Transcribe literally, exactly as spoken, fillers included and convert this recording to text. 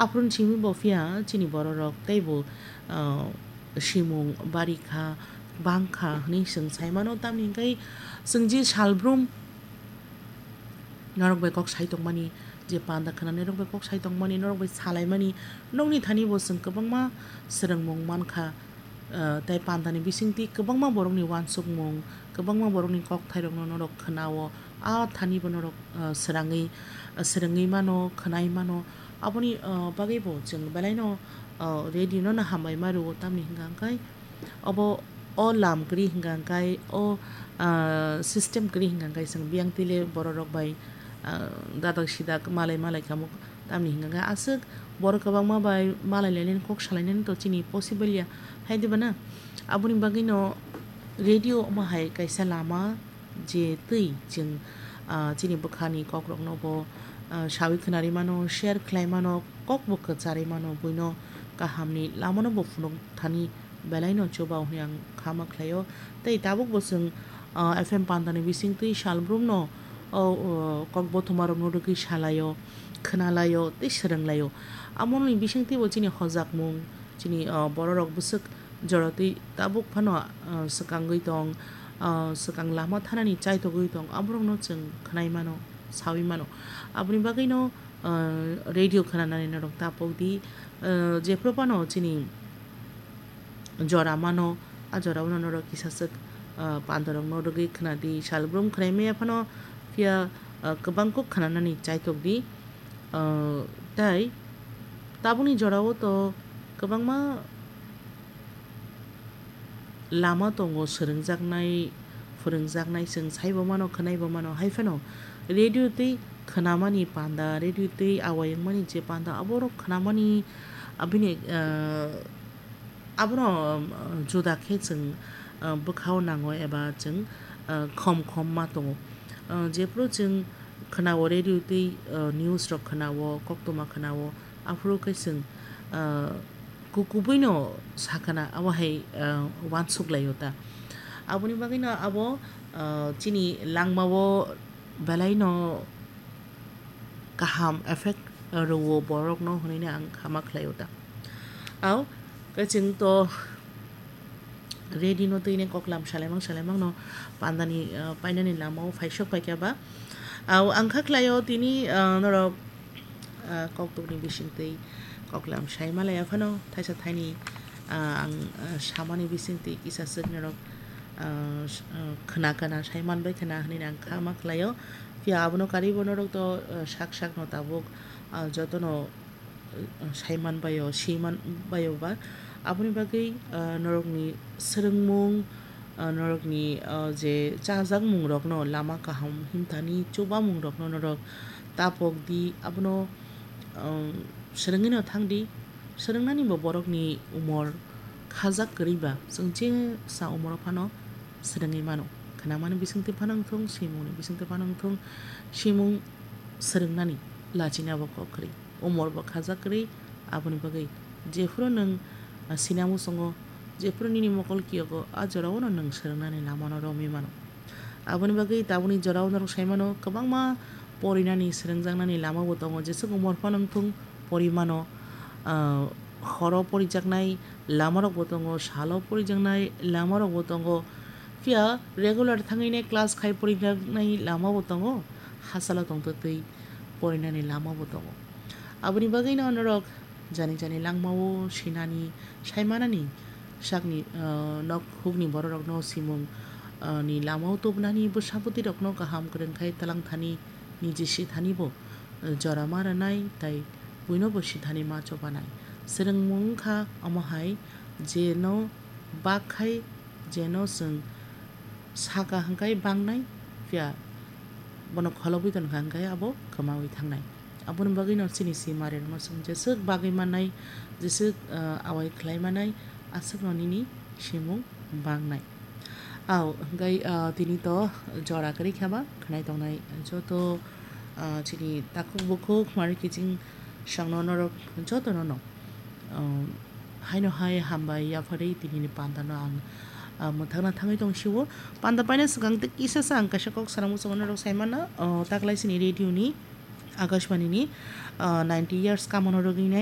Aphuru simi bo phiya chini bororok teibo, ah, simung bari kha, bang kha hwnwi chwng sai mano, tamni hwnkhe chwng je salbrum norok bai kok sai tongmani, je panda khwnanirok bai kok sai tongmani, norok bai salaimani, nokni thani bo chwng kwbangma swrwngmung man kha. Ah, tei pandani bisingtwi kwbangma borokni uansukmung, kwbangma borokni kokthairokno norok khwnao, a thani bo norok, ah, swrangwi, ah, swrwngwi mano, khwnai mano. Aboni, ah, bagwi bo chwng belaino, ah, radio no no hambai ma rwo, tamni hwnkha hwnkhe obo o lam kwrwi hwnkha hwnkhe o, ah, system kwrwi hwnkha hwnkhe chwng biyang twi le bororok bai, ah, dadak sidak malai malai kamo. Tamni hwnkha khe aswk borok kwbangma bai malai lainani kok salainani to chini possible ya, hai diba na? Aboni bagwino radio omo hai kaisa lama, je twi chwng, ah, chini bwkhani kokrokno bo, ah, sawi khwnari mano, share khlai mano, kok bo kwcharwi mano, buino kahamni lamano bo phunuk thani belaino chuba hwnwi ang khama khlaio. Tei tabuk bo chwng, ah, F M pandani bisingtwi salbrumno, o, o, kokbothomarokno rwgwi salaio, khwnalaio tei swrwnglaio. Amoni bisingtwi bo chini hojakmung, chini, ah, bororok bwswk joratwi tabuk phano, ah, swkangwi tong, ah, swkang lama thanani chaitogwi tong, aborokno chwng khwnai mano, sawi mano. Aboni bagwino, ah, radio khwnanani norok tapok di, ah, jephru phano chini jora mano, a jorao no norok kisa swk, ah, pandarokno rwgwi khwnadi, salbrum khwnai maya phano phiya, ah, kwbang kok khwnanani chaitok di. Ah, tai tabukni jorao to kwbangma lama tongo, swrwngjaknai, phwrwngjaknai, chwng saibo mano, khwnaibo mano. Hai phano radio twi khwnamani panda, radio twi awai wngmani je panda, aborok khwnamani abini, ah, abono, ah, juda khe chwng, ah, bwkhao nango eba chwng, ah, khom khom ma tongo. Ah, jephru chwng khwnao radio twi, ah, news rok khwnao, koktwma khwnao, aphuru khe chwng, ah, kukubuino sakana abo hai, ah, uansuk laio ta. Aboni bagwino abo, ah, chini langmao belaino kaham effect rwo borokno hwnwi ang khama khlaio ta. Au, khe chwng to ready no twi ne koklam salaimang salaimang no pandani, ah, painani lamao phaisok paikha ba. Au, ang kha khlaio tini, ah, norok, ah, koktukni bisingtwi koklam sai malaya phano thaisa thaini, ah, ang, ah, samani bisingtwi kisa swk norok, ah, s-, ah, khna kana sai manbai khna hwnwi ang kha ma khlaio. Phiya abono karwi bo norok to, ah, sak sak no tabuk, ah, jotono saiman baio, siman baio ba. Aboni bagwi, ah, norokni swrwngmung, ah, norokni, ah, je chajakmungrokno lama kaham himthani chubamungrokno norok tapok di. Abono, um, swrwngwino thang di. Swrwngnani bo borokni umor khajak kwrwi ba, chwng jesa umoro phano swrwngwi mano. Khnamani bisingtwi phano wngthung, simungni bisingtwi phano wngthung, simung swrwngnani lachina bo kok kwrwi. Umor bo khajak kwrwi, aboni bagwi jephuru nwng, ah, sinamo songo, jephuru nini mokol kiyogo, a jorao no nwng swrwngnani lamano romwi mano. Aboni bagwi tabukni jorao norok sai mano, kwbangma porinani, swrwngjaknani lama bo tongo, jeswk umor phano wngthung pori mano, ah, horo porijaknai lamarok bo tongo, salo porijaknai lamarok bo tongo, phiya regular thangwi ne class khai porijaknai lama bo tongo, hachalo tongtwtwi porinani lama bo tongo. Aboni bagwino norok jani jani langmao sinani, saimanani sakni, ah, nok hukni bororokno simung, ah, ni lamao tubunani, bwsa bwtwirokno kaham kwrwng khai twlang thani, niji si thani bo, ah, jora ma rwnai tei buino bo si thani ma chobanai. Swrwngmung wngkha omo hai je no bak khai, jeno chwng saka hwnkhe bangnai, phiya bono kholobwi tonkha hwnkhe abo kwmawi thangnai. Aboni bagwino chini simarikno chwng jeswk bagwi mannai, jeswk, ah, awai khlai mannai, aswkno nini simung bangnai. Au, hwnkhe, ah, tini to jora kwrwi khe ba khwnai tongnai joto, ah, chini takhuk bukhuk mari kiching songno norok jotono no, ah, haino hai hambai yapharwi tinini pandano ang, ah, mwthangna thangwi tong sio. Panda paina swkang tei kisa sa ang kaisa kok sana muchungo norok sai mano, ah, taklai chini radio ni, Akashbani ni, ah, ninety years kamono rwgwi nai.